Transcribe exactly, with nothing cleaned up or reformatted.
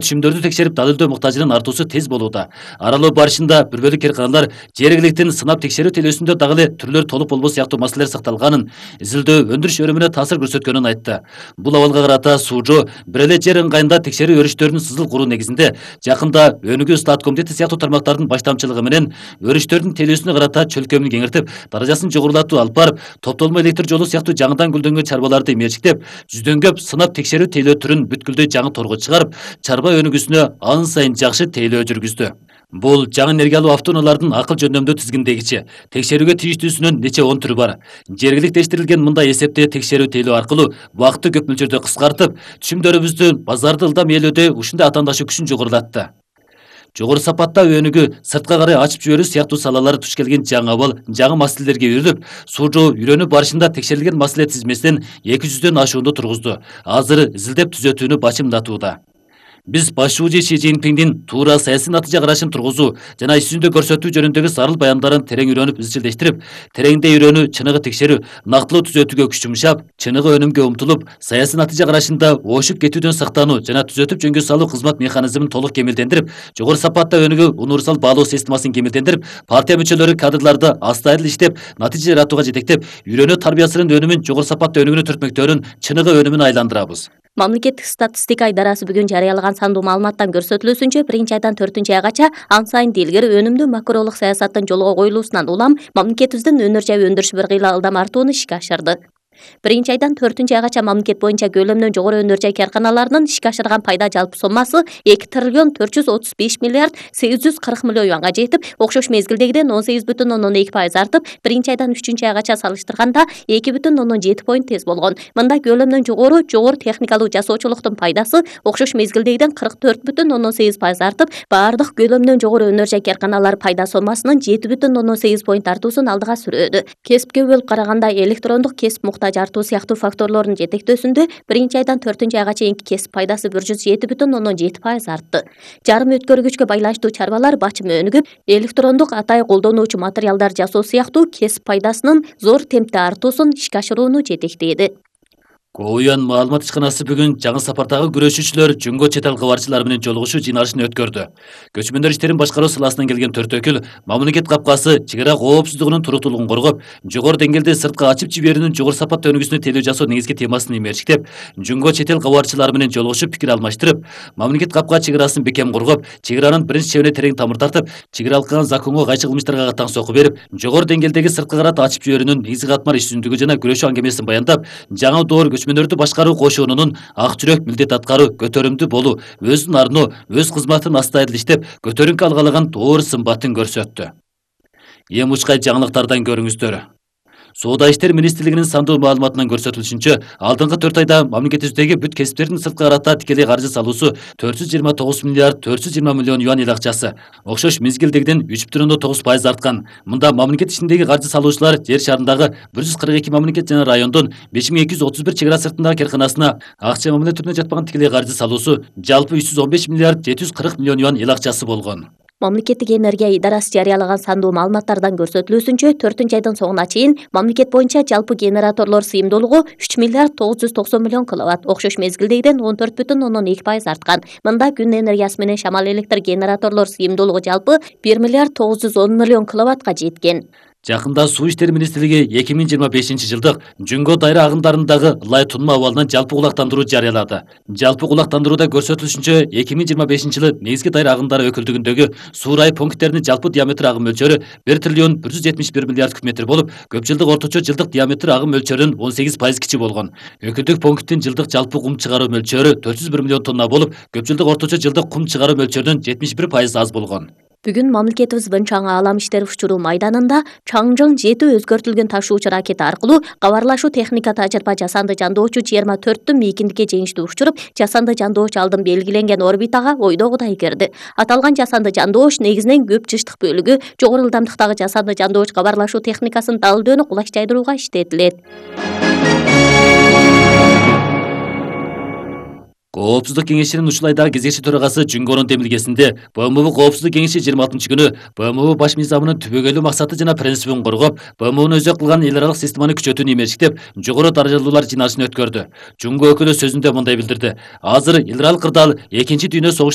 Түшүмдөрдү текшерип далилдөө муктажынын артуусу тез болууда. Аралоо барышында бир бөлүк кыйрканалар жергиликтин сынап текшерүү телөөсүндө дагы эле түрлөр толук болбос сыяктуу маселелер сакталганын, изилдөө өндүрүш өрүмүнө таасир көрсөткөнүн айтты. Бул абалга карата суужу бир эле жер ыңгайында текшерүү өрүштөрүнүн сызыл куруу негизинде жакында Өнүгүү Стат комитети сыяктуу тармактардын баштамчылыгы менен өрүштөрдүн телөөсүнө карата чөлкөмүн кеңиртип, даражасын жогорулатуу алып барып, топтолмо электр жолу сыяктуу жаңыдан гүлдөнгөн чарбаларды мерчиктеп, жүздөн көп сынап текшерүү тейлөө түрүн бүткүлдөй жаңы торго чыгарып, чарба өнүгүүсүнө ан сайын жакшы тейлөө жүргүздү. Бул жаңы энергиялуу автоунаалардын акыл жөндөмдүү тизгиндегичи. Текшерүүгө тийиштүүсүнүн нече он түрү бар. Жергиликтештирилген мындай эсептөө текшерүү тейлөө аркылуу убакытты көп мөлчөрдө кыскартып, түшүмдөрүбүздүн базарды ылдам ээлөөдө ушундай атаандашы күчүн жогорулатты. Жогору сапаттагы өнүгүү, сыртка карай ачып жиберүү сыяктуу салалары туш келген жаңы абал, жаңы маселелерге үйрүлүп, суужу үйрөнүү барышында текшерилген маселе тизмесинен эки жүздөн ашуунду тургузду. Азыр изилдеп түзөтүүнү бачымдатууда. Биз башчы Ши Цзиньпиндин туура саясий натыйжа карашын тургузуу жана иш жүзүндө көрсөтүү жөнүндөгү зарыл баяндарын терең үйрөнүп изчилдештирип, тереңдей үйрөнүү, чыныгы текшерүү, нактылуу түзөтүүгө күч жумшап, чыныгы өнүмгө умтулуп, саясий натыйжа карашында ошуп кетүүдөн сактануу жана түзөтүп жөнгө салуу кызмат механизмин толук кемелдендирип, жогору сапатта өнүгүү универсал баалоо системасын кемелдендирип, партия мүчөлөрү кадрларды астайыл иштеп, натыйжа жаратууга жетектеп, үйрөнүү тарбиясынын өнүмүн жогору сапатта өнүгүүнү түртмөктөрүн чыныгы өнүмүн айландырабыз. Мамлекеттик статистика идарасы бүгүн жарыялаган сандуу маалыматтан көрсөтүлүүсүнчө биринчи айдан төртүнчү айгача ан сайын илгери өнүмдүү макролук саясаттын жолго коюлуусунан улам мамлекетибиздин өнөр жай өндүрүшү бир кыйла ылдам артууну ишке ашырды. Биринчи айдан төртүнчү айгача мамлекет боюнча көлөмүнөн жогору өнөр жай карканаларынын ишке ашырган пайда жалпы соммасы эки триллион төрт жүз отуз беш миллиард сегиз жүз кырк миллион юанга жетип, окшош мезгилдегиден он сегиз бүтүн ондон эки пайыз артып, биринчи айдан үчүнчү айгача салыштырганда эки бүтүн ондон жети поинт тез болгон. Мында көлөмүнөн жогору жогору техникалуу жасоочулуктун пайдасы окшош мезгилдегиден кырк төрт бүтүн ондон сегиз пайыз артып, баардык көлөмүнөн жогору өнөр жай карканалар пайда соммасынын жети бүтүн ондон сегиз поинт артуусун алдыга сүрөдү. Кесипке бөлүп караганда электрондук кесип муктаж артуу сыяктуу факторлордун жетектөөсүндө биринчи айдан төртүнчү айга чейинки кесип пайдасы бир жүз жети бүтүн ондон жети пайыз артты. Жарым өткөргүчкө байланыштуу чарбалар бачымы өнүгүп, электрондук атайы колдонуучу материалдар жасоо сыяктуу кесип пайдасынын зор темпте артуусун ишке ашырууну жетектеди. Коуян маалымат ишканасы бүгүн жаңы сапардагы күрөшүүчүлөр Жөнгө чет эл кабарчылары менен жолугушуу жыйналышын өткөрдү. Көчмөндөр иштерин башкаруу саласынан келген төрт өкүл мамлекет капкасы чек ара коопсуздугунун туруктуулугун коргоп, жогору деңгээлде сыртка ачып жиберүүнүн жогору сапатта өнүгүүсүнө тейлөө жасоо негизги темасын имерчиктеп, Жөнгө чет эл кабарчылары менен жолугушуп пикир алмаштырып, мамлекет капка чек арасын бекем коргоп, чек аранын биринчи чебине терең тамыр тартып, чек аралык законго кайчы кылмыштарга катаң сокку берип, жогору деңгээлдеги сырткы карата ачып жиберүүнүн негизги катмар иш жүзүндүгү жана күрөшүү аңгемесин баяндап, жаңы доор көчмөндөрдү башкаруу кошуунунун ак жүрөк милдет аткаруу, көтөрүмдүү болуу, өзүн арноо, өз кызматын астайыл иштеп, көтөрүңкү алгалаган доор сымбатын көрсөттү. Эң учкай жаңылыктардан көрүңүздөр. Соода иштер министрлигинин сандуу маалыматынан көрсөтүлүшүнчө, алдыңкы төрт айда мамлекетибиздеги бүт кесиптердин сырткы карата тикелей каржы салуусу төрт жүз жыйырма тогуз миллиард төрт жүз жыйырма миллион юан эл акчасы, окшош мезгилдегиден үч бүтүн ондон тогуз пайыз арткан. Мында мамлекет ишиндеги каржы салуучулар жер шарындагы бир жүз кырк эки мамлекет жана райондун беш миң эки жүз отуз бир чек ара сыртындагы карканасына акча мамиле түрүнө жатпаган тикелей каржы салуусу жалпы үч жүз он беш миллиард жети жүз кырк миллион юан эл акчасы болгон. Мамлекеттик энергия идарасы жарыялаган сандуу маалыматтардан көрсөтүлүүсүнчө, төртүнчү айдын соңуна чейин мамлекет боюнча жалпы генераторлор сыйымдуулугу үч миллиард тогуз жүз токсон миллион киловатт, окшош мезгилдегиден он төрт бүтүн ондон эки пайыз арткан. Мында күн энергиясы менен шамал электр генераторлор сыйымдуулугу жалпы бир миллиард тогуз жүз он миллион киловаттка жеткен. Жакында Суу иштери министрлиги эки миң жыйырма бешинчи жылдык Жөнгө дайра агымдарындагы лай тунма абалынан жалпы кулактандыруу жарыялады. Жалпы кулактандырууда көрсөтүлүшүнчө, эки миң жыйырма бешинчи жылы негизги дайра агымдары өкүлдүгүндөгү суу райы пункттеринин жалпы диаметр агым мөлчөрү бир триллион бир жүз жетимиш бир миллиард куб метр болуп, көп жылдык орточо жылдык диаметр агым мөлчөрүнүн он сегиз пайыз кичи болгон. Өкүлдүк пункттин жылдык жалпы кум чыгаруу мөлчөрү төрт жүз бир миллион тонна болуп, көп жылдык орточо жылдык кум чыгаруу мөлчөрүнүн жетимиш бир пайыз аз болгон. Бүгүн мамлекетибиз Чаң Аалам иштери учуруу майданында Чаңжың жети өзгөртүлгөн ташуучу ракета аркылуу кабарлашуу техника тажырыйба жасанды жандоочу жыйырма төрттүн мейкиндикке жеңиштүү учуруп, жасанды жандоочу алдын белгиленген орбитага ойдогудай кирди. Аталган жасанды жандооч негизинен көп жыштык бөлүгү жогору ылдамдыктагы жасанды жандооч кабарлашуу техникасын далилдөөнү кулайчтайдырууга иштетилет. Коопсуздук кеңешинин ушул айдагы кезекчи төрагасы Жүнгөрүн демилгесинде БМУ Коопсуздук кеңеши жыйырма алтынчы күнү БМУ баш мыйзамынын түбөгөйлүү максаты жана принцибин коргоп, БМУнун өзөк кылган эл аралык системаны күчөтүүнү имештиктеп, жогору даражалуулар жиналышын өткөрдү. Жүнгө өкүлү сөзүндө мындай билдирди. Азыр эл аралык кырдаал экинчи дүйнө согуш